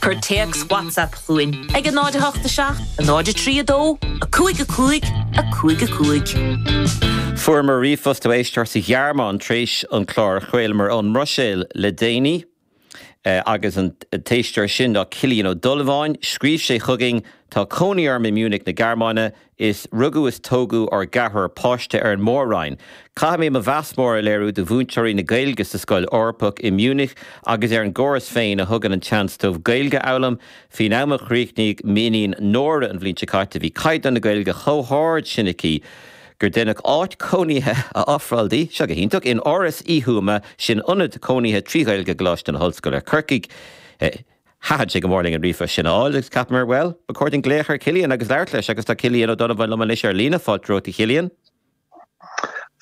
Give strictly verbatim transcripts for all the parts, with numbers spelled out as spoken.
Cuir téacs WhatsApp chugainn ag a náid a hocht a seacht, a náid a trí a dó, a cúig a cúig, a cúig a cúig. Fuaireamar ríomhphost ó éisteoir sa Ghearmáin tar éis an clár a chraolamar ón mBruiséil le déanaí. Uh, agus an t-éisteoir sin ná Cillian Ó Donnabháin, scríobh sé chugainn tá cónaí orm i Munich na Gearmáine is rugadh is tógadh ár gceathrar páiste ar an Mór-Roinn. Caithfidh mé mo mheas mór a léiriú do mhúinteoirí na Gaeilge sa scoil Eorpach i Munich agus ar an gcóras féin a thugann an seans dóibh Gaeilge a fhoghlaim, Faoin am a chríochnaigh m'iníon Nóra an bhliain seo caite bhí caighdeán na Gaeilge chomh hard sin aici. gur deineadh áit cónaithe a ofráil di seo go hiontach in Áras Uí Thuama sin ionad cónaithe trí Ghaeilge Choláiste na hOllscoile Corcaigh. Eh, Thaitin sé go mór linn an ríomhphost sin a fháil agus cheapamar well, ba chóir dúinn glaoch ar Cillian agus labhairt leis agus tá Cillian Ó Donnabháin liom anois ar líne fáilte romhat a Chillian.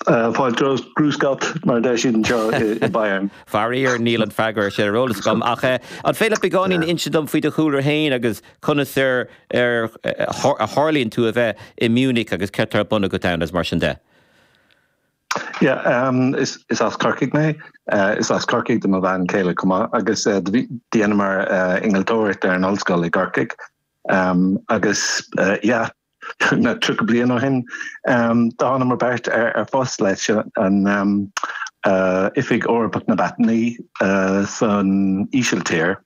Fáilte grüß Gott mar deir siad anseo i Bayern. Faraor níl an freagra sin ar eolas agam ach eh, an féidir beagáinín inse dom faoi do chúlra féin agus conas ar ar a tharlaíonn tú a bheith i Munich agus cad tá ar bun agat ann is mar sin de. Yeah, um, is, is as Corcaigh mé uh, is as Corcaigh do mo bhean chéile chomh maith agus uh, dheineamar uh, innealtóireacht ar an ollscoil i gCorcaigh um, agus uh, yeah, na tríocha bliain ó shin um, thángamar beirt ar, ar phost leis an um, uh, Oifig Eorpach na bPaitinní uh, san Ísiltír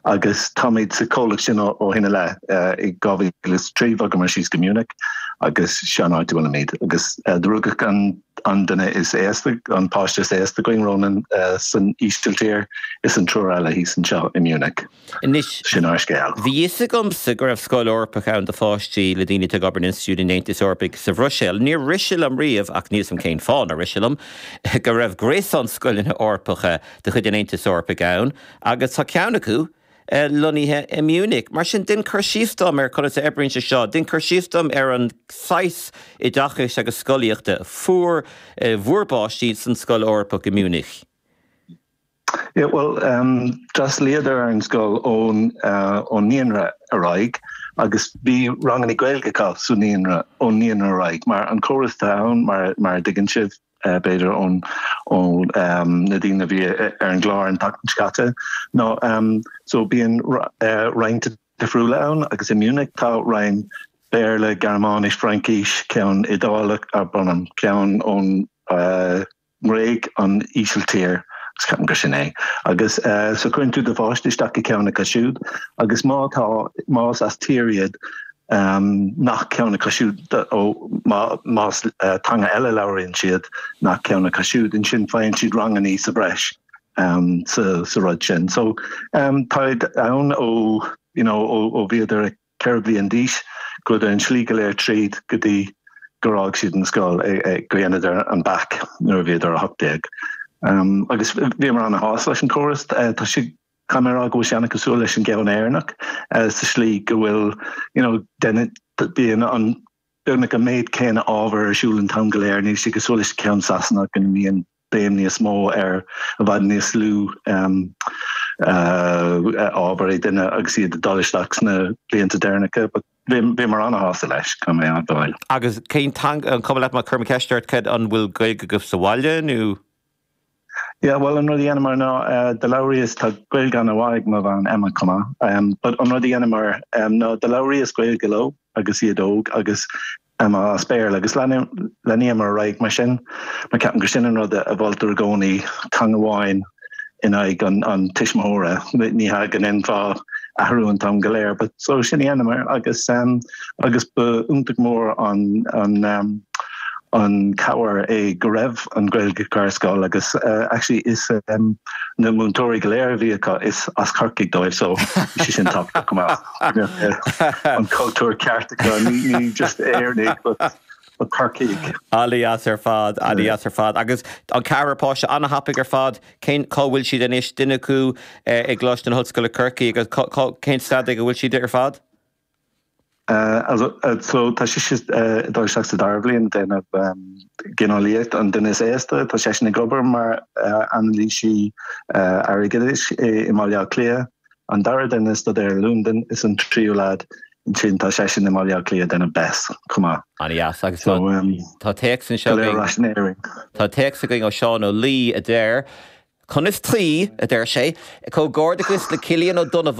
agus táimid sa chomhlacht sin ó shin i leith uh, i dhá mhíle is trí bhogamar síos go Munich agus sin áit bhfuilimid agus uh, rugadh an an duine is aosta an páiste is aosta againn Ronan uh, san Ísiltír is an triúr eile thíos anseo i Munich. Anois sin ár scéal. Bhí fhios agamsa go raibh scoil Eorpach ann do pháistí le daoine ag obair in institiúid an Aontais Eorpaigh sa Bhruiséil. Níor rith sé liom riamh ach níl fhios agam cén fáth nár rith sé liom go raibh gréasán scoileanna Eorpacha de chuid an Aontais Eorpaigh ann, agus tá ceann acu uh, lonnaithe i Munich. Mar sin déan cur síos dom ar conas a oibríonn sé seo, déan cur síos dom ar an saghas oideachais agus scolaíochta fuair uh, bhur bpáistí san scoil Eorpach i Munich. Yeah, well um, d'fhreastlaíodar ar an scoil ón uh, ón naíonra ar aghaidh agus bhí ranganna Gaeilge acu sa naíonra ón naíonra ar aghaidh mar an córas ann mar mar tuigeann sibh uh, b'fhéidir ón ón um, na daoine bhí ar an gclár an tseachtain seo caite no um, so bíonn uh, roinnt difriúla ann agus i Munich tá roinn Béarla Gearmáinis Fraincis ceann Iodálach a bunam ceann ón uh, nGréig an Ísiltír ceapaim gur sin é. Agus uh, so cuireann tú do pháiste isteach i ceann acu siúd, agus má tá más as tír iad um, nach ceann acu siúd ó más uh, teanga eile labhraíonn siad nach ceann acu siúd ansin faigheann siad ranganna sa bhreis um, sa, sa rud sin. So um, tá ann ó you know, ó, ó bhíodar ceithre bliana d'aois go an slí go léir tríd go dtí gur fhág siad an scoil go ndéanadar an bac nuair a bhíodar a hocht déag. Um, agus bhíomar an-shásta leis an córas uh, tá sé camrá go seanna cosúil leis an gceann Éireannach uh, sa slí go bhfuil you know, bíonn an beagnach an méid céanna ábhar ar siúl an t-am go léir níl sé cosúil leis ceann Sasanach go mbíonn béim níos mó ar i bhfad níos lú um, uh, ábhar é duine agus iad dul isteach sna blianta deireanacha, but bhíomar an-shásta leis go mé an Agus cén an cuma leat má chuirim ceist ort cad an bhfuil Gaeilge agaibh sa bhaile nó? Yeah, well an rud a dhéanamar ná uh, do labhraíos tá Gaeilge an-mhaith ag mo bhean Emma chomh maith. Um, but an rud a dhéanamar um, ná do labhraíos Gaeilge leo agus iad óg agus Emma as Béarla agus leanamar ar aghaidh mar sin mar ceapaim gur sin an rud a mholtar i gcónaí teanga amháin in aghaidh an, an tuismitheora ní ha gan infá athrú an t-am go léir, but so sin a dhéanamar agus um, agus ba iontach mór an an um, an cabhair é go raibh an Ghaeilge ar scoil agus uh, actually is um, na múinteoirí go léir bhí acu is as Corcaigh dóibh so sí sin top go an cultúr ceart ní ní just Éireannaigh but but Corcaigh. An-deas ar fad an-deas ar fad agus an ceathrar páiste an-thapaidh ar fad cén cá bhfuil siad anois duine acu i gColáiste na hOllscoile Corcaigh agus cén staid go bhfuil siad ar fad? Uh, also, uh, so tá sé uh, dul isteach sa dara bliain déanamh um, gineolaíocht an duine is aosta tá sé ag obair mar uh, anailísí uh, airgeadais i mBaile Átha Cliath. An dara duine ag staidéar Londain is an tríú lad sin tá sé sin i mBaile Átha Cliath déanamh BES chomh maith. An-deas agus so, um, tá téacs anseo Tá téacs againn ó Seán Ó Laoi a deir, Conas trí a deir sé, Comhghairdeachas le Cillian Ó Donnabháin